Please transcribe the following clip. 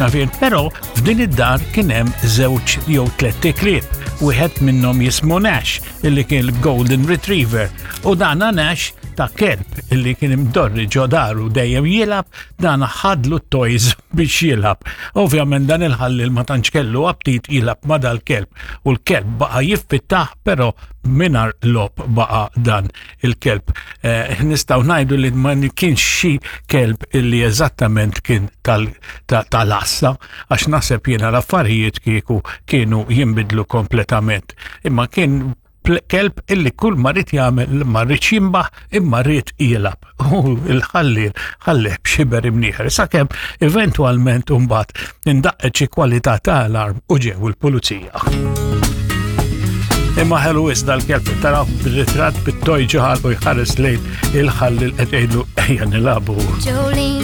Nafien, però f'din id-dar kien hemm żewġ jew tlett iklieb. Wieħed minnhom jismu Nash, illi kien il-Golden Retriever, u dana Nash ta' kelb illi kien imdorri ġo daru dejjem jilgħab, dana ħadlu t-toys biex jilgħab. Ovvjament dan il-ħallil ma tantx kellu aptit jilgħab ma' dal-kelb u l-kelb baqa' jiffittah però mingħajr logħob baqa' dan il-kelb. Eh, nistgħu ngħidu li ma kienx xi kelb illi eżattament kien tal-assa, għax naħseb jiena l-affarijiet kieku kienu jinbidlu kompletament. Imma kien kelb illi kull ma rrid jagħmel ma rridx jimbaħ imma rrid jilgħab. U l-ħalliel ħallih b'xiber imnieħer sakemm eventwalment imbagħad indaqqet xi kwalità ta' alarm u ġew il-pulizija. Imma ħelu iżda l-kelb taraw bil-ritratt bit-toj ġoħal u jħares lejn il-ħalli qed jgħidlu ejja nilagħbu.